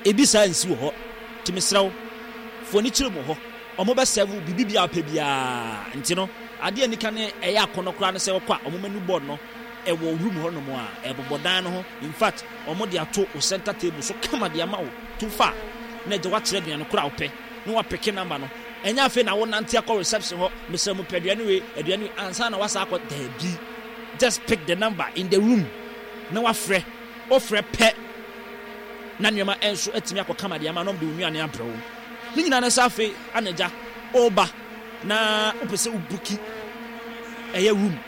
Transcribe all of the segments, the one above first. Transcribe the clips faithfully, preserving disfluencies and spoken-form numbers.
Ebi saa nsi wɔ hɔ. Nti mesrɛ wo, fa w'ani kyerɛ mu wɔ hɔ. Wɔbɛsɛve wo biribi biara a wopɛ biara. Nti no, adeɛ a nika ne ɛyɛ akɔnnɔ koraa ne sɛ wokɔ a, wɔn menu board no ɛwɔ room hɔ nom a, ɛbobɔ dan no ho. In fact, wɔde ato wo center table so kama de ama wo. To fa a, na agya woakyerɛ aduane korɔ a wopɛ, na woapeke number no. Ɛnyɛ afei na wonante akɔ reception hɔ, mesrɛ mo pɛ aduane wei, aduane wei, ansa na woasan akɔ. Daabi. Just pick the number in the room na woafrɛ. Wofrɛ pɛ na nneɛma nso atumi akɔ kama de ama na wɔde wo nnuane abrɛ wo. Ne nyinaa ne sɛ afei ana agya woba na wopɛ sɛ wobuki ɛyɛ room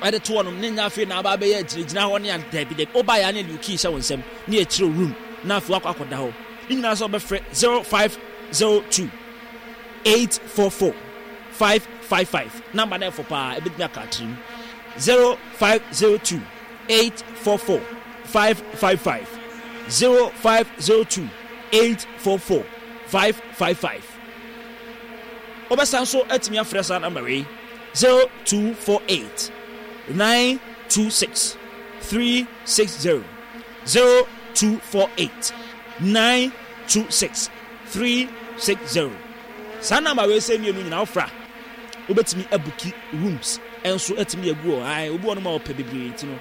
ɛde to hɔnom ne nyɛ afei na aba abɛyɛ agyinagyina hɔ ne daabi daabi woba yɛ a ne yɛde wo key hyɛ wo nsam ne yɛkyerɛ room na afei wakɔ akɔda hɔ. Ne nyinaa sɛ wobɛfrɛ zero five zero two eight four four five five five number no ɛfo paa ɛbɛtumi aka atirim zero five zero two eight four four five five five zero five zero two eight four four five five five. Wobɛsan nso atumi afrɛ saa namba wei zero two four eight nine two six three six zero zero two four eight nine two six three six zero. Saa namba wei sɛ mmienu nyinaa wofra wobɛtumi abuki rooms nso atumi agu hɔ. Ae, obi wɔ no ma ɔpɛ bebree nti no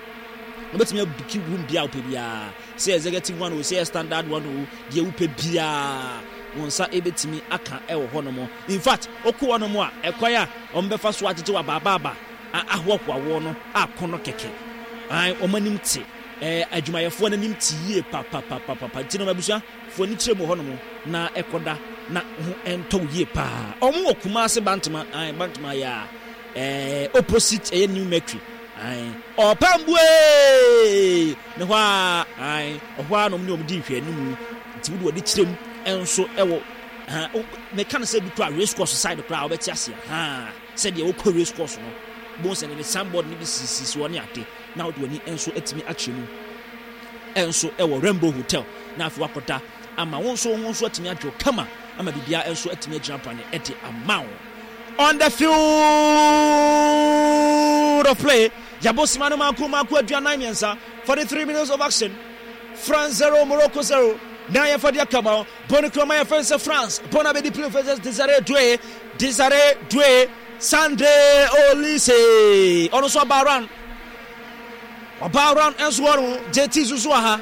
wobɛtumi abuki room biara wopɛ biara, sɛ executive one o, sɛ standard one o, deɛ wopɛ biara wo nsa ɛbɛtumi aka ɛwɔ hɔ nom. In fact, wokɔ hɔ nom a, ɛkwan a wɔbɛfa so agyegye wɔ abaabaaba ahoahoa woɔ no akɔnnɔ kɛkɛ. Ae, wɔn anim te, ɛɛ adwumayɛfoɔ no anim te yie papapapapa. Nti no abusua, fa w'ani kyerɛ mu wɔ hɔnom na ɛkɔda na ho ɛntɔ wo yie paa. Wɔn wɔ Kumasi Bantama, ae, Bantama yɛ a, ɛɛ opposite ɛyɛ New Mercury, ae, Ɔpambuee! Ne hɔ ara, ae, ɛhɔ ara na wɔn ne wɔn di nhwɛanimu. Nti wode w'ani kyerɛ mu nso ɛwɔ, ha, meka no sɛ bi koraa race course side koraa wobɛte aseɛ, ha, sɛdeɛ wokɔ race course no, bohu sɛ ne signboard no bi sisisisi hɔ ne ade, na wode w'ani nso atumi akyerɛ mu nso ɛwɔ Rainbow Hotel, na afei wakɔda ama wo nso wo ho nso atumi adwo kama ama biribiara nso atumi agyina brane de ama wo. On the field of play, yɛabɔ sima no mako mako aduanan mmiɛnsa, forty three minutes of action. France zero, Morocco zero. Na yɛfa de aka ma bɔ no kura ma yɛfɛ sɛ France bɔ no abɛdi play fɛ sɛ Desire Doue, Desire Doue, Sandre Olise ɔno nso aba round, ɔba round nso hɔ no J T nso so wɔ ha.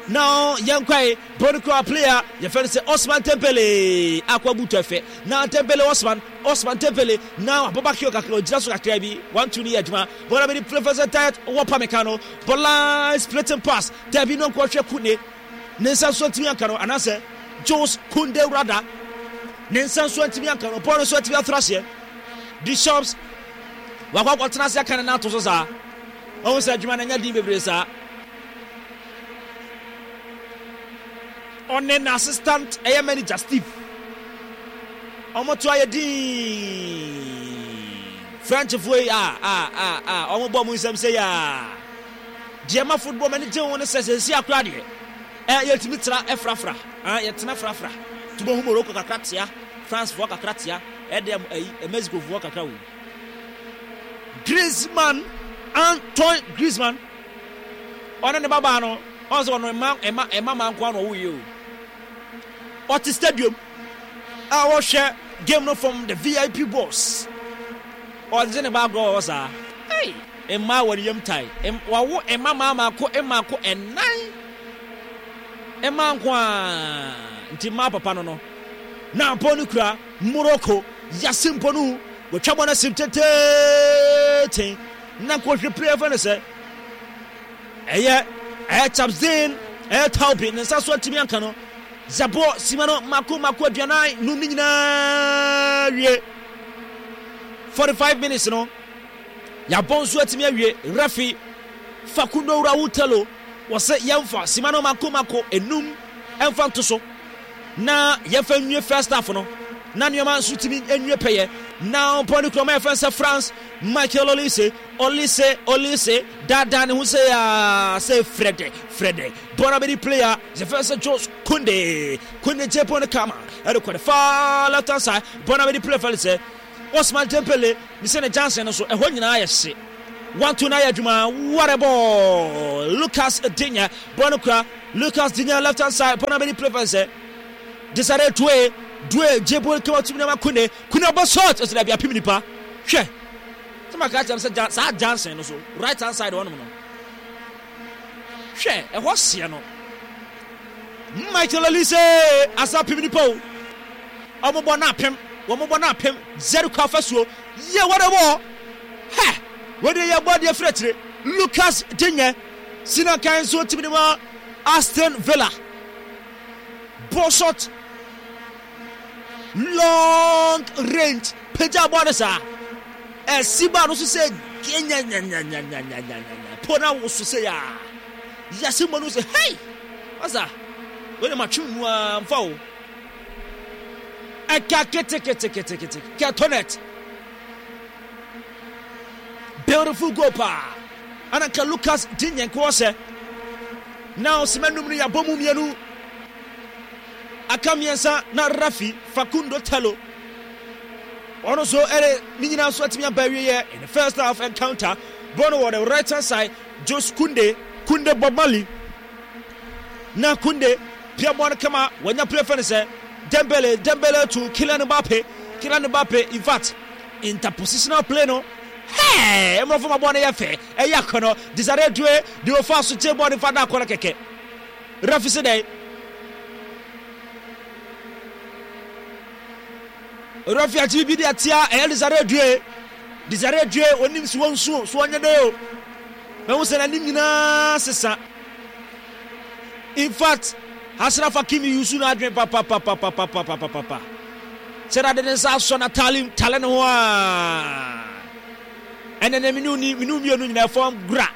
Na yɛnkwae bɔ no kura player yɛfɛ no sɛ Osman Dembele akɔ abutu ɛfɛ na Dembele Osman Osman Dembele na wabɔ back heel kakra ogyina so kakra bi one two ne yɛ adwuma bɔɔl abɛdi play fɛ sɛ diet wɔ Pamecano bɔ line splitting pass dabi no nkɔhwɛ Kune ne nsa nso antumi anka no anaasɛ Jules Kounde rada ne nsa nso antumi anka no bɔɔl nso antumi atora aseɛ Deschamps wakɔ akɔtena ase aka ne nan ato so saa ɔho sɛ adwuma no anya din bebree saa ɔne n'assistant ɛyɛ manager Steve ɔmo to ayɛ din Frenchfoɔ yi a a a a ɔmo bɔ ɔmo nsɛm sɛ yaa deɛ ma football m'ani gye ho ne sɛ sɛsi akora deɛ ɛ yɛtumi tra ɛfrafra a yɛtena frafra tuma hu Morocco kakra tea Francefoɔ kakra tea ɛdeɛ ɛyi Mexicofoɔ kakra wo Griezmann Antoine Griezmann ɔne ne babaa no ɔn sɛ ɔno ɛma ɛma ɛma maa nko ano ɔwo yie o ɔte stadium a ɔhwɛ game no from the V I P box ɔgye ne ba agorɔ wɔ hɔ saa hey mmaa wɔ ne yam tae wawo mma maa maako mmaako ɛnan mmaa nko a nti mmaa papa no no na mpɔ no kura Morocco yase mpo no wɔtwa bɔ no asim tenten na nkɔhwɛ player fɛ no sɛ ɛyɛ ɛyɛ Chapzin ɛyɛ Taubi ne nsa so atumi anka no Zabo sima no mako mako aduanan num ne nyinaa wie forty five minutes no yɛabɔ nso atumi awie refi Facundo Raul Tello wɔsɛ yɛmfa sima no mako mako enum ɛmfa nto so na yɛmfa nwie first half no na nneɛma nso tumi nwie pɛyɛ na ɔpɔ ne kurama yɛfɛn sɛ France Michael Olise Olise Olise daadaa ne ho sɛ yaa sɛ frɛdɛ frɛdɛ bɔɔl abɛdi player yɛfɛn sɛ Jules Kounde Kounde gye bɔɔl no kama ɛde kɔ ne far left hand side bɔɔl abɛdi player fɛn sɛ Osman Dembele ne sɛ ne Johnson no so ɛhɔ nyinaa yɛ hye One two na yɛ adwuma. What a ball! Lucas Digne bɔɔl no kura. Lucas Digne left hand side bɔɔl no abɛdi play fɛn sɛ Desire Doue Doue gye bɔɔl kama tumi nama Kunde Kunde ɔbɔ shot ɔsɛ dabi apem nipa hwɛ sɛ maka kyerɛ sɛ saa Johnson no so right hand side hɔnom no hwɛ ɛhɔ seɛ no Michael Olise asa apem nipa o ɔmo bɔ no apem wɔn bɔ no apem Jericho afasuo yɛ wɔde bɔ hɛ wɔde yɛ bɔ adeɛ firi akyire Lucas Digne sinakan nso tumi de ma Aston Villa ball shot long range pagya bɔɔl no saa ɛsi baa no so sɛ nyanyanyanyanyanyanya po na woso sɛ yaa yɛse mmɔ no sɛ hei masa wei na matwe mu a mfa o ɛka keteketekete kɛtɔnet beautiful goal paa ana nka Lucas Digne nkoɔ sɛ na ɔsɛmɛ num no yɛabɔ mu mmienu aka mmiɛnsa na Rafi Facundo Tello ɔno nso ɛde ne nyinaa nso atumi aba awieɛ in the first half encounter bɔɔl no wɔ the right hand side Jos Kunde Kunde Bob Marley na Kunde pia bɔɔl no kama wɔnya play fɛ no sɛ Dembele Dembele to Kylian Mbappe Kylian Mbappe in fact interpositional play no hey mmorɔfo ma bɔɔl no yɛ fɛ ɛyɛ akɔnɔ Desire Doue de ofa so gye bɔɔl no fa da akɔnɔ kɛkɛ refi se dɛn refi akyi bibi de atia ɛyɛ Desire Doue Desire Doue onim si wɔn nsuo so wɔnyɛ dɛ o mɛhu sɛ n'anim nyinaa sesa in fact Ashraf Hakimi yusu n'adwene papapapapapapapapa sɛ dade ne nsa asɔ n'ataale tale ne ho a ɛnɛ ne mene ni mene mmienu nyinaa fam gura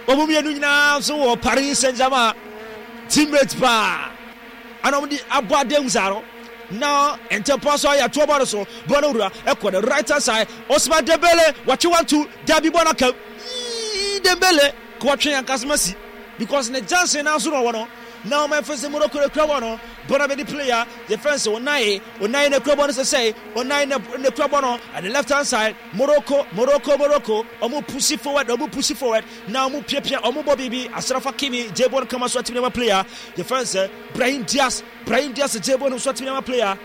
wɔn mmienu nyinaa nso wɔ Paris Saint-Germain teammate paa ana wɔn de abɔ adan saa no na ntɛmpa so ayɛ atoɔ bɔ no so bɔ no wura ɛkɔ the right hand side Ousmane Dembele wɔtwe one two dabi bɔ no aka yii Dembele ka wɔtwe ankasa si because ne Johnson na nso na ɔwɔ no na wɔn ɛfɛ sɛ Morocco na ekura bɔ no bɔ no abɛdi player yɛfɛ sɛ Onaye Onaye na ekura bɔ no sɛsɛe Onaye na na ekura bɔ no at the left hand side Morocco Morocco Morocco ɔmo push forward ɔmo push forward na ɔmo piapia ɔmo bɔ biribi Ashraf Hakimi gye bɔ no kama so atumi ama player yɛfɛ sɛ Brahim Diaz Brahim Diaz gye bɔ no so atumi ama player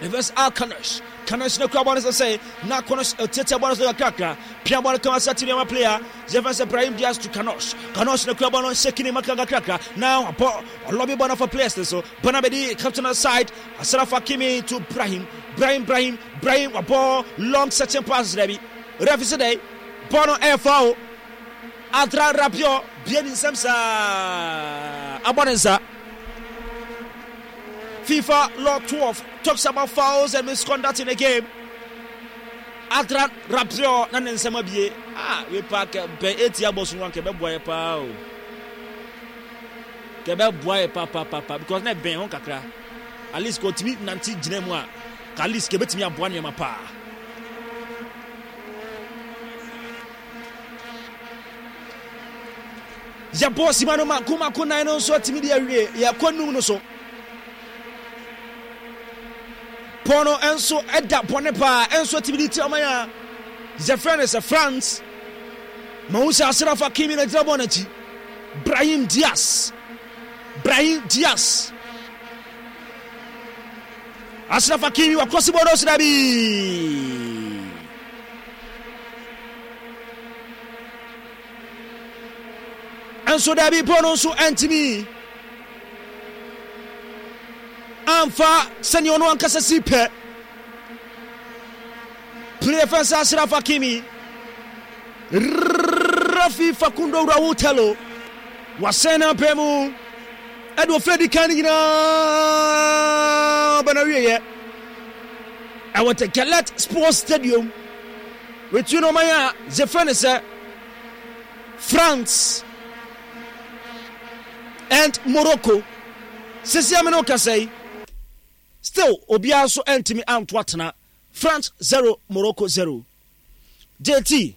yɛfɛ sɛ Alcanos Kanos na kura bɔ no sɛsɛe na Kanos tiatia bɔ no so kakrakra pia bɔ no kama so atumi ama player yɛfɛ sɛ Brahim Diaz to Kanos Kanos na kura bɔ no shaking ne maka kakrakra na wabɔ ɔlɔbi bɔ no for players no so bɔ no abɛdi captain side Ashraf Hakimi to Brahim Brahim Brahim Brahim wabɔ long searching pass dɛbi refi sɛ dɛ bɔ no ɛyɛ foul Adrian Rabiot bie ne nsam saa abɔ ne nsa FIFA Law twelve talks about fouls and misconduct in the game. Adrian Rabiot na ne nsam abie ah we pa kɛ bɛn eti abɔ so nkɛ bɛboa yɛ paa o kɛ bɛboa yɛ pa pa pa pa because na bɛn ho kakra at least kò tumi nante gyina mu a ka at least kɛ bɛtumi aboa nneɛma paa. Yɛbɔ sima no mako mako nan no nso atumi de awie yɛkɔ num no so pɔn no nso da bɔne paa nso atumi de ti ɔman a yɛfrɛ no sɛ France ma wo sɛ Ashraf Hakimi na gyina bɔɔl n'akyi Brahim Diaz Brahim Diaz Ashraf Hakimi wakɔsi bɔɔl no so dabi nso dabi bɔɔl no nso antumi amfa sɛnea ɔno ankasa si pɛ player fɛn sɛ Ashraf Hakimi Rafi Facundo Raul Tello wasɛn no apɛ mu ɛde ɔfɛ di kan no nyinaa bɛna wieɛ ɛwɔ the Gillette Sports Stadium wetu no ɔman a yɛfrɛ no sɛ France and Morocco sisi amene kasa yi still obiara nso ntumi anto atena France zero Morocco zero J T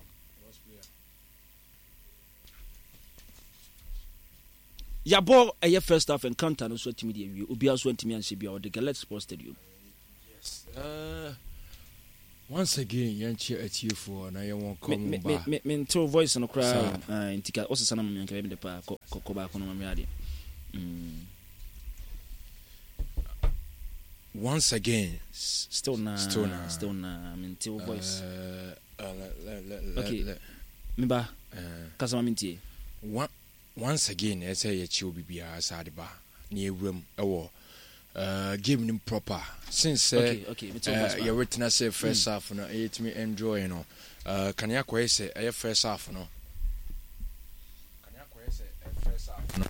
yabɔ ɛyɛ first half encounter no nso atumi de awie obiara nso ntumi anhyɛ bia ɔde Gillette Sports Stadium. Yes. Uh, Once again, yɛnkyɛ atiefoɔ na yɛwɔn Me kɔm me ba. me me ntew voice no koraa Saa. o. Ah, nti ka wosesa no ma me anka bɛyɛ me dɛ paa. Kɔ kɔ kɔ baako no ma me adeɛ. Mm. Once again, S- Still na Still na. Still na mentew voice. Uh, uh, le, le, le, Okay. le, Me ba uh, kasa ma mentie. one, once again, ɛsɛ yɛkyi obi biara saa de ba na yɛwura mu ɛwɔ uh, game no mu proper since sɛ Okay, okay, metew voice uh, ba. yɛwetena sɛ first half no ɛyɛtumi enjoy no uh, kane akɔyɛ sɛ ɛyɛ first half no kane akɔyɛ sɛ ɛyɛ first half no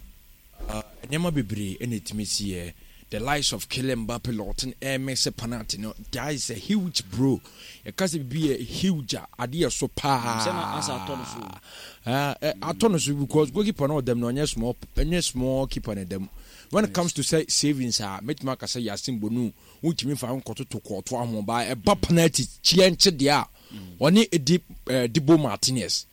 uh, nneɛma bebree ɛna ɛtumi siiɛ. The likes of Kylian Mbappe Lottin ɛmɛ sɛ penalty no, that is a huge bro. Yɛka sɛ biribi yɛ huge a, adeɛ so paa. Sɛ na asa atɔ no so. Ah, eh, atɔ no so because goalkeeper no ɔdam no, ɔnyɛ small, ɛnyɛ small keeper no dam. When it comes to say savings a, mɛtumi aka sɛ Yasin Bonu wontumi fa nkɔtoto kɔɔto aho ba ɛba penalty kyeɛ nkye deɛ a, ɔne edi eh, Dibo Martinez,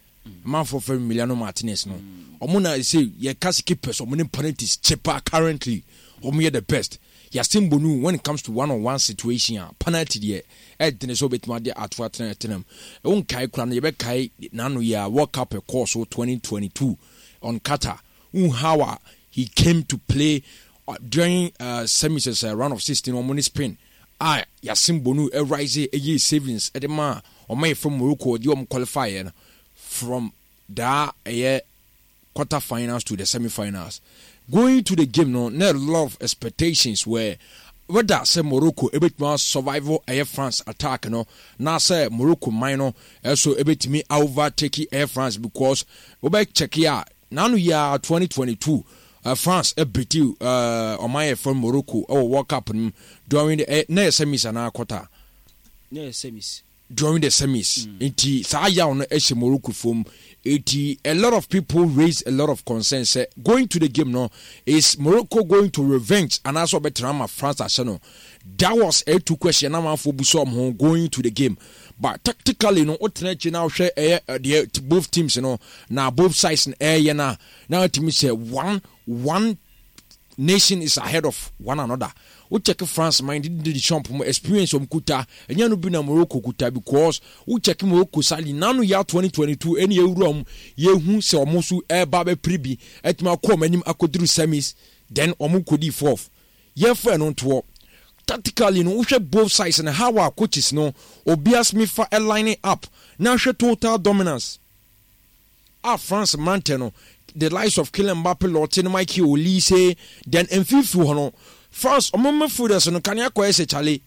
manfoɔ fɛ Emiliano Martinez no, ɔmo na sɛ yɛka sɛ keepers ɔmo ne penalties kye paa currently, ɔmo yɛ the best. Yasin Bonu, when it comes to one on one situation a, penalty deɛ ɛdene sɛ wobɛtumi ade ato atena ɛtena mu. Wonkae kora no, yɛbɛkae n'ano yɛ a World Cup ɛkɔɔ so twenty twenty-two on Qatar, wohu how a he came to play uh, during uh, semis, uh, round of sixteen, ɔmo ne Spain a Yasin Bonu ɛrise ɛyɛ savings ɛde ma ɔmo yɛ from Morocco, ɔde ɔmo qualify yɛ no from daa ɛyɛ quarter finals to the semi-finals. Going to the game no, na a lot of expectations were whether sɛ Morocco ebetumi survive ɛyɛ France attack no, na sɛ Morocco man no ɛso ebetumi overtake ɛyɛ France, because wobɛ check a, n'ano yɛ twenty twenty-two uh, France ɛbeat uh, ɔman yɛ from Morocco ɛwɔ World Cup no mu during the eh, na yɛ semis anaa quarter? Na yɛ semis. During the semis mm. Nti saa yaw no ɛhyɛ Morocco fam, eti a lot of people raise a lot of concern sɛ going to the game no, is Morocco going to revenge anaasɛ ɔbɛtena ama France ahyɛ no? That was a two question na amanfoɔ bu sɛ ɔmo ho going to the game. But tactically no, wotena akyi na wohwɛ ɛyɛ deɛ both teams no na both sides no ɛyɛ na na watumi sɛ one one nation is ahead of one another. Wo check France man, Didier Deschamps mo experience ɔmo kuta ɛnyɛ no bi na Morocco kuta, because wo check Morocco sali nanu ya twenty twenty-two ɛne ewura ɔmo yehu sɛ ɔmo so ɛɛba bɛpiri bi ɛtumi akɔ ɔmo anim akɔduru semis, then ɔmo kɔdi fourth. Yɛmfa ɛno ntoɔ. Tactically no, wohwɛ both sides no, how our coaches no obiara smi fa line up na hwɛ total dominance a France mmerantɛ no, the likes of Kylian Mbappe Lottin, Michael Olise, then mfimfini hɔ no, France ɔmo midfielders no kanea kɔɛ sɛ chale,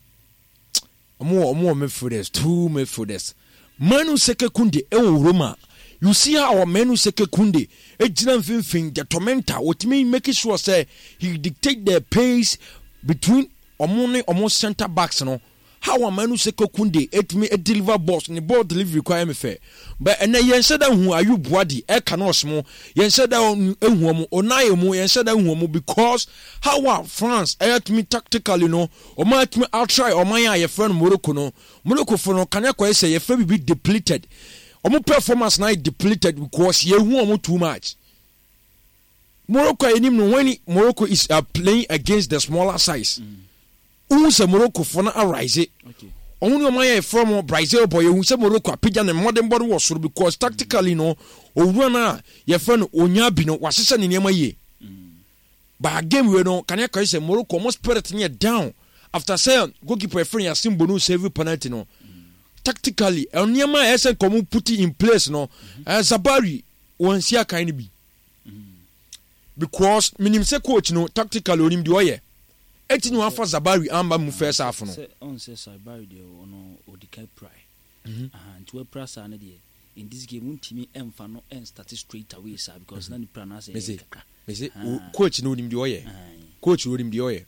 ɔmo wɔ ɔmo wɔ midfielders, two midfielders, Manu Seke Kunde ɛwɔ Roma. You see how Manu Seke Kunde egyina mfimfini, the tormentor, otumi make sure sɛ he dictate the pace between ɔmo ne ɔmo centre backs no. How a Manu Seke Kunde etumi deliver balls, ne ball delivery kwan yɛ me fɛ, but ɛnɛ yɛn hyɛ da hu Ayub Buadi ɛka no ɔsmo, yɛn hyɛ da ehu ɔmo Onaye mu, yɛn hyɛ da hu ɔmo, because how a France ɛyɛ tumi tactically no, ɔmo atumi atry ɔman a yɛfrɛ no Morocco no. Morocco fo no kanea kɔyɛ sɛ yɛfrɛ bibi depleted, ɔmo performance na yɛ depleted because yɛhu ɔmo too much. Morocco a yɛnim no, when Morocco is uh, playing against the smaller size, wohu sɛ Morocco fo no arise. Ɔmo ne ɔmo ayɛ from Brazil bɔ, yɛhu sɛ Morocco apagya ne mmɔdenbɔ no wɔ soro because tactically no, owura no a yɛfrɛ no onya bi no wahyehyɛ ne nneɛma yie. But game wei no, kanea kɔyɛ sɛ Morocco ɔmo spirit no yɛ down after sɛ goalkeeper yɛfrɛ no Yasin Bono save penalty no. Tactically, nneɛma a ɛsɛ nka ɔmo put in place no, ɛɛ Zabari wɔn si akan no bi, because minim sɛ coach no tactically onim deɛ ɔyɛ, eti na wafa Zabari amba mu first half no. Sɛ ɔn sɛ Zabari deɛ, ɔno ɔdi kan pirae. Nti wapira saa no deɛ, in this game wontumi ɛmfa no ɛnstart straight away saa because na ne pira no asɛ ɛyɛ kakra. Mese coach no onim deɛ ɔyɛ, coach no onim deɛ ɔyɛ.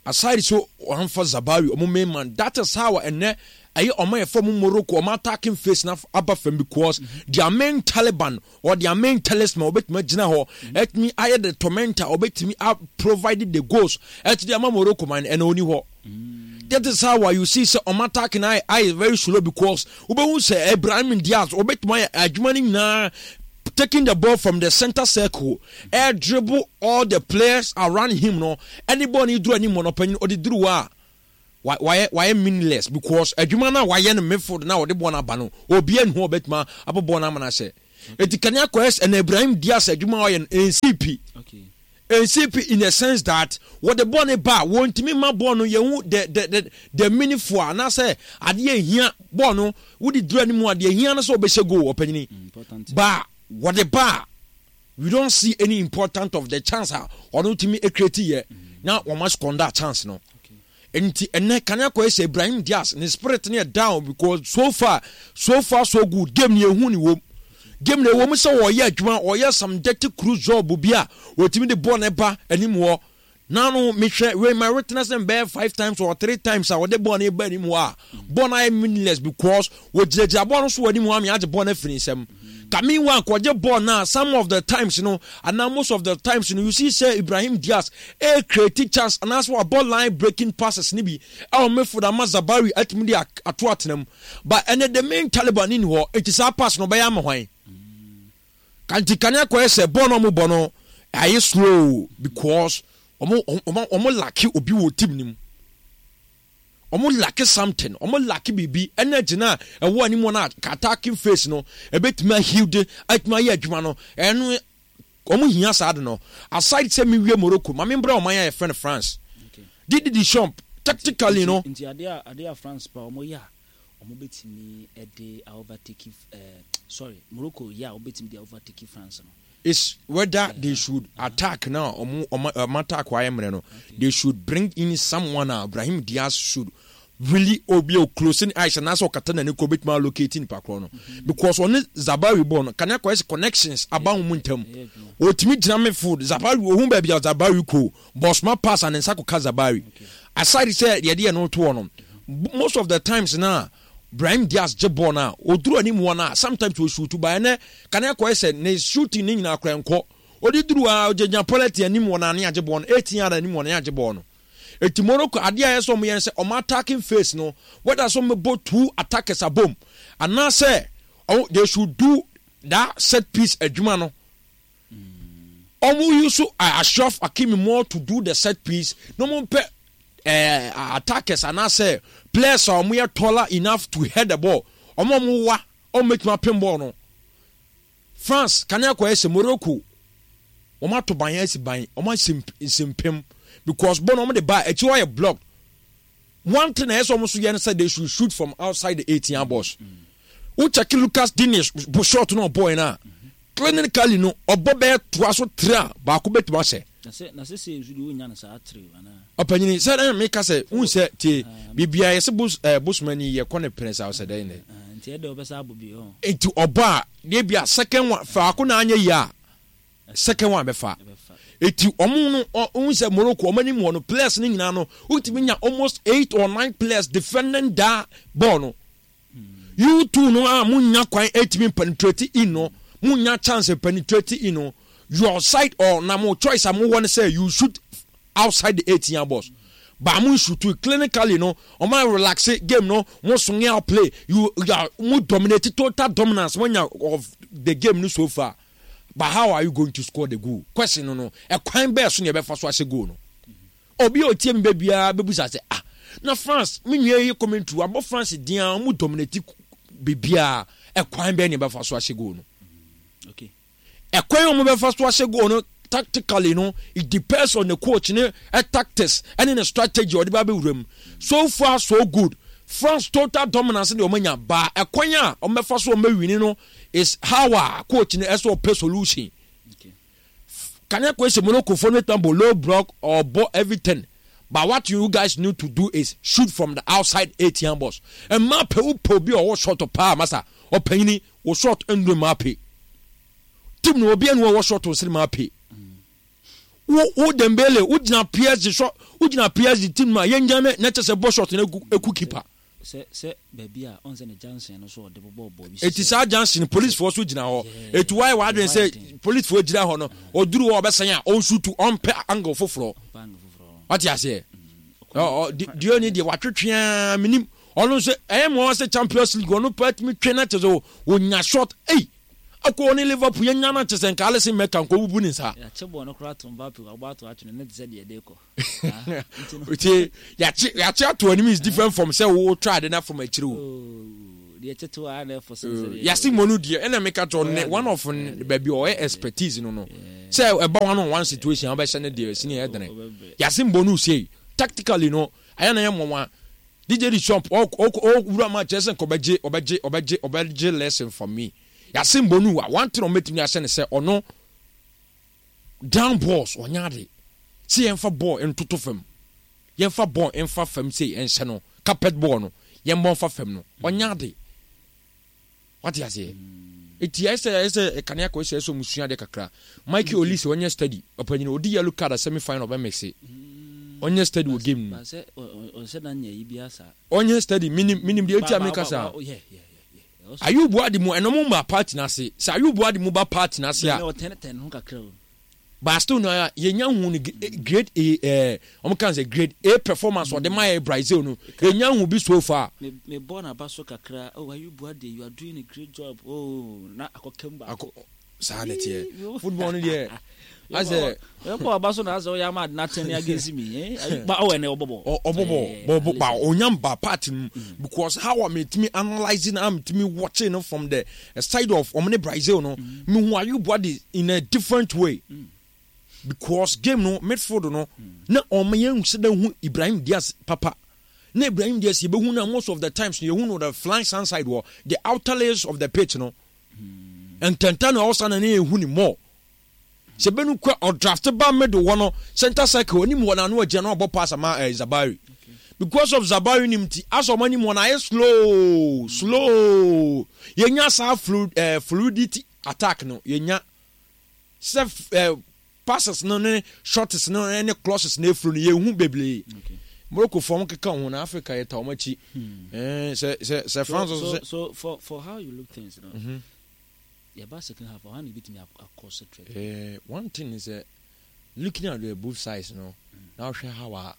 Aside so wɔamfa Zabari, ɔmo main man, that is how ɛnɛ ɛyɛ ɔmo yɛ fɔ Morocco ɔmo attacking face na aba fam, because mm -hmm. their main Taliban or their main talisman ɔbɛtumi agyina hɔ, ɛtumi ayɛ the tormentor, ɔbɛtumi a provide the goals ɛti ama Morocco man, ɛna ɔni hɔ. That is how you see sɛ ɔmo attack na ayɛ very slow, because wobɛhu sɛ Ibrahim Diaz ɔbɛtumi ayɛ adwuma no nyinaa, taking the ball from the center circle, air dribble all the players around him no, ɛne ball ni duru anim no, panyin ɔde duru hɔ a Wayɛ wayɛ meaningless because adwuma no a wayɛ no midfield na ɔde bɔɔl no aba no, obiara nni hɔ a ɔbɛtumi abɔ bɔɔl no ama no ahyɛ. Eti kane akɔyɛ sɛ ɛna Ibrahim Diaz adwuma a ɔyɛ no ɛnsi pi. Ɛnsi pi in the sense that wɔde bɔɔl no ba a wɔntumi mma bɔɔl no yɛhu the the the the meaningful anaasɛ adeɛ ehia bɔɔl no wode duru anim a deɛ ehia no sɛ ɔbɛhyɛ goal ɔpanyini ba wɔde ba a we don't see any important of the chance a ɔno tumi create yɛ na wɔn asquander chance no. Nti ɛnɛ kane akɔyɛ sɛ Ibrahim Diaz ne spirit no yɛ down because so far so far so good game no yɛhu ne wom game no ɛwɔ mu sɛ wɔyɛ adwuma wɔyɛ some dirty cruise job bi a wɔtumi de bɔɔl no ba anim hɔ na no mehwɛ wei my witness no bɛyɛ five times or three times a wɔde bɔɔl no ba anim hɔ a bɔɔl no ayɛ meaningless because wɔgyinagyina bɔɔl no so wɔ anim hɔ a meagye bɔɔl no afiri nsam ka meanwhile kɔgye bɔɔl no a some of the times no anaa most of the times no you see sɛ Ibrahim Diaz e create chance anaasɛ wabɔ line breaking passes no bi ɛwɔ midfield ama Zabari atumi de ato atena mu but ɛnɛ the main Taliban ni hɔ nti saa pass no ɔbɛyɛ ama hwan kanti kane akɔyɛ sɛ bɔɔl no ɔmo bɔ no ayɛ slow because ɔmo ɔmo ɔmo lack obi wɔ team no mu ɔmo lack something ɔmo lack biribi ɛna gyina a ɛwɔ anim hɔ no a attacking phase no ɛbɛtumi aheal de atumi ayɛ adwuma no ɛno ɔmo hia saa de no aside sɛ mewie Morocco maame mbra ɔman a yɛfrɛ no France Didi Deschamps tactically no nti adeɛ a adeɛ a France pa ɔmo yɛ a ɔmo bɛtumi ɛde overtake ɛɛ sorry Morocco yɛ a ɔmo bɛtumi de overtake France no is whether they should attack now ɔmo ɔmo ɔmo attack wayɛ mmerɛ no they should bring in someone a Brahim Diaz should really obi o closing eyes anaasɛ ɔkata n'ani kɔ obetumi allocate nipa korɔ no because ɔne Zabari bɔ no kanea kɔyɛ sɛ connections aba wɔn ntam otumi gyina midfield Zabari ohun baabi a Zabari kɔ bɔsoma pass a ne nsa kɔka Zabari aside sɛ yɛde yɛn no to hɔ no most of the times na Brahim Diaz gye bɔɔl no a oduru anim hɔ no a sometimes o shoot ba ɛnɛ kanea kɔyɛ sɛ ne shooting ne nyinaa kora nkɔ ɔde duru a ɔgyina penalty anim wɔ n'ane agye bɔɔl no eighteen yard anim wɔ n'ane agye bɔɔl no eti Morocco adeɛ a yɛ sɛ ɔmo yɛ no sɛ ɔmo attacking phase no whether sɛ ɔmo bɔ two attackers abom anaasɛ ɔmo they should do that set piece adwuma no ɔmo use Achraf Hakimi more to do the set piece na ɔmo mpɛ ɛɛ attackers anaasɛ players a ɔmo yɛ taller enough to head the ball ɔmo ɔmo wa ɔmo mɛtumi apem ball no France kanea kɔyɛ sɛ Morocco wɔn ato ban asi ban wɔn ahyɛ nsɛmpem because ball no wɔn de ba akyi hɔ yɛ block one thing na ɛyɛ sɛ wɔn nso yɛ no sɛ they should shoot from outside the eighteen yard box wo check Lucas Digne shot no ɔbɔ yɛn a clinically no ɔbɔ bɛyɛ toa so three a baako bɛtumi ahyɛ. na sɛ sɛ nso de wonya no saa three anaa ɔpanyini sɛ ɛna meka sɛ wohu sɛ tie biribiara yɛsɛ bos ɛɛ bosomani yɛkɔ ne pene sa ɔsɛ dɛn dɛ nti ɛdɛ ɔbɛsa abɔ bi hɔ nti ɔbɔ a deɛ bi a second one faako na anyɛ yie a second one bɛfa eti ɔmo no ɔmo sɛ Morocco ɔmo anim wɔ no players no nyinaa no wotumi nya almost eight or nine players defending that ball no you two no a mo nya kwan etumi penetrate in no mo nya chance penetrate in no your side or na mo choice a mo wɔ no sɛ you shoot outside the eighteen yard box but mo shoot clinically no ɔmo relax game no mo swing out play you you are mo dominate total dominance mo nya of the game no so far but how are you going to score the goal question no no ɛkwan bɛɛ so na yɛbɛfa so ahyɛ goal no obi a otie mi bɛ biara bɛbusa sɛ ah na France me nua yi commentary wabɔ France din a ɔmo dominate biribiara ɛkwan bɛɛ na yɛbɛfa so ahyɛ goal no okay ɛkwan a wɔn bɛfa so ahyɛ goal no tactically no it depends on the coach ne ɛ tactics ɛne ne strategy ɔde ba bɛwura mu so far so good France total dominance de wɔn anya ba ɛkwan a wɔn bɛfa so wɔn bɛwini no is how a coach ne ɛsɛ ɔpɛ solution okay kanea kɔ sɛ Morocco fo no bɛtuma bɔ low block or bɔ everything but what you guys need to do is shoot from the outside eighteen box mmaa pɛ wo pɛ obi a ɔwɔ shot paa masa ɔpanyini wo shot nduro mmaa pɛ team no obi anu ɔwɔ shot nsiri mmaa pɛ wo wo Dembele wo gyina PSG shot wo gyina PSG team mu a yɛn gyina ne na kyɛ sɛ bɔ shot no egu egu keeper sɛ sɛ baabi a ɔn sɛ ne junction no so ɔde bɔbɔ bɔ bi eti saa junction police foɔ so gyina hɔ eti wayɛ wadwene sɛ police foɔ gyina hɔ no ɔduru hɔ ɔbɛsɛn a ɔnsutu ɔmpɛ angle foforɔ bank foforɔ wate aseɛ ɔ ɔ deɛ ni deɛ watwetwea minim ɔno nso ɛyɛ mu ɔwɔ sɛ champions league ɔno pɛ tumi twe na kyerɛ sɛ onya shot ei Akɔ ɔne Liverpool yɛnya no kyɛ sɛ nka Alisson Becker nka ɔbubu ne nsa. Yɛakye bɔɔl no koraa to Mbappe wabɔ ato atwene ne te sɛ deɛ ɛde kɔ. Nti yɛakye yɛakye ato anim is different from sɛ wo try ade na from akyire o. Deɛ tete a na ɛfɔ sɛ sɛ yɛase mmɔ no deɛ ɛna meka kyerɛ ne one of baabi ɔyɛ expertise no no sɛ ɛba one on one situation a wobɛhyɛ no deɛ ɛsini ɛyɛ dene. Yɛase mmɔ no sei tactically no ayɛ na yɛ mmɔwa D J Deschamps ɔwura ma kyerɛ sɛ nka ɔbɛgye ɔbɛgye ɔbɛgye ɔbɛgye lesson from me. Yɛase mbɔ no a one thing ɔmɛtumi ahyɛ ne sɛ ɔno down balls ɔnyɛ ade sɛ yɛmfa ball ntoto fam, yɛmfa ball mfa fam sɛ ɛnhyɛ no carpet ball no yɛmbɔ mfa fam no ɔnyɛ ade. Wate aseɛ? Eti ayɛ sɛ ayɛ sɛ ɛkane akɔ sɛ ɛsɛ ɔmo sua ade kakra. Michael Olise ɔnyɛ steady, ɔpanyin odi yellow card a semi final ɔbɛ mixe. Ɔnyɛ steady wɔ game no mu. Ɔnyɛ steady, minim minim deɛ eti a meka saa. Ayub Buadi mu ɛna ɔmo ma party n'ase. Sɛ Ayub Buadi mu ba party n'ase a. But still no yɛnya hu no grade A ɛɛ ɔmo kan sɛ grade A performance ɔde ma yɛ Brazil no yɛnya hu bi so far. Me me bɔ n'aba so kakra, oh Ayub Buadi, you are doing a great job, oh na akɔkam baako. Saa na ɛteɛ football no deɛ asɛ. Ɔbɔ aba so na asɛ ɔyɛ ama adena ten against me eh ba ɔwɔ ɛnɛ ɔbɔbɔ. Ɔbɔbɔ bɔbɔ ba onyam ba part no because how a metumi analyse na metumi watching no from the side of ɔmo ne Brazil no mehu Ayub Buadi in a different way. Mm. Because game no midfield no na ɔmo yɛn sɛ dɛ hu Ibrahim Diaz papa na Ibrahim Diaz yɛbɛhu na most of the times no yɛhu no the flank side wɔ the outer layers of the pitch no. Ntɛntɛn na ɔsan na ne ehu ni more sɛ bɛnu kɔ ɔdraft ba middle hɔ no center circle anim hɔ na ano agyina na ɔbɔ pass ama eh, Zabari because of Zabari nim ti asɔ ɔmo anim hɔ na ayɛ slow slow yɛnya saa fluid eh, fluidity attack no yɛnya sɛ eh, passes no ne shots no ne crosses na efuru no yɛhu bebree. Morocco fam keka ho na Africa yɛ ta wɔn akyi. Sɛ sɛ sɛ France so so for for how you look things no. Mm-hmm. Yɛba second half ɔha na ebitumi akɔ so trɛ. Eh, one thing is uh, looking at the both sides no. Mm. Now hwɛ how a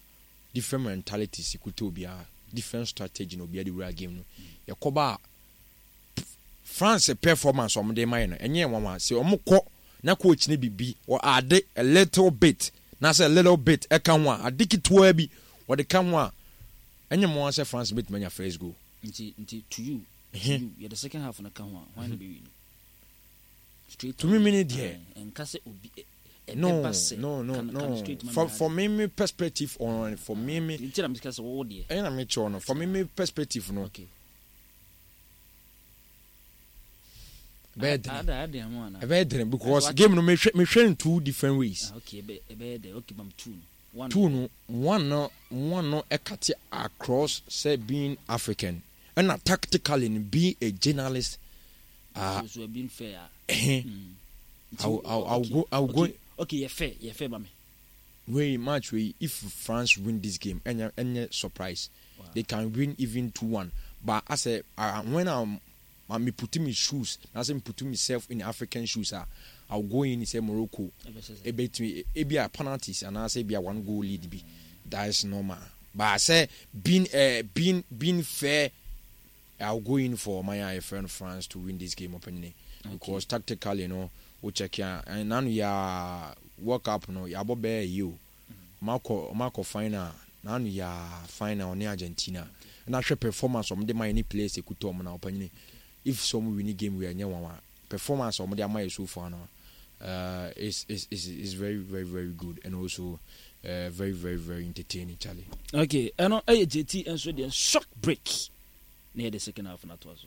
different mentalities kuta obiara, different strategy na obiara de wura game no. Mm. Yɛkɔba France performance wɔn de ma yɛ no ɛnyɛ nwanwa sɛ wɔn kɔ na coach ne bibi or ade a little bit na sɛ a little bit ɛka ho a ade ketewa bi wɔde ka ho a ɛnyɛ mo sɛ France betumi anya first goal. Nti nti to you to you yɛ the second half na ka ho a hwan na bɛ win straight to me mini deɛ nka sɛ obi no no no no for for me me perspective on for me me nti na mi ka sɛ wɔwɔ deɛ ɛna mi kyerɛ no for me me perspective no. Okay. Ɛbɛyɛ dene ɛbɛyɛ dene because game no mehwɛ mehwɛ in two different ways. Ah, okay, ɛbɛyɛ dɛ okay, mam two no. Two no, one no, one no ɛkate across sɛ being African ɛna tactically no being a journalist. Uh, so, so being fair. Eh, mm. I'll, I'll, I'll okay. go. I'll okay. go. Okay, you're fair. You're fair, mami. Wait, match wei if France win this game, any any surprise, wow. They can win even two one. But as a uh, when I'm me putting my shoes, now say me putting myself in African shoes, ah, I'll go in say Morocco. Ebetumi ebi a penalties and I say be a one goal lead be. That is normal. But I say being uh, being being fair, I'll go in for my friend France to win this game openly because okay. Tactically, you know, we check here and now ya World Cup no ya bo be you. Marco Marco final now ya final on Argentina. And I performance on the my players ekuto on na openly. If some win game we are near one performance on the my so far now uh is is is is very very very good and also uh, very very very entertaining, Charlie. Okay, and uh, J T and so the short break near the second half not was.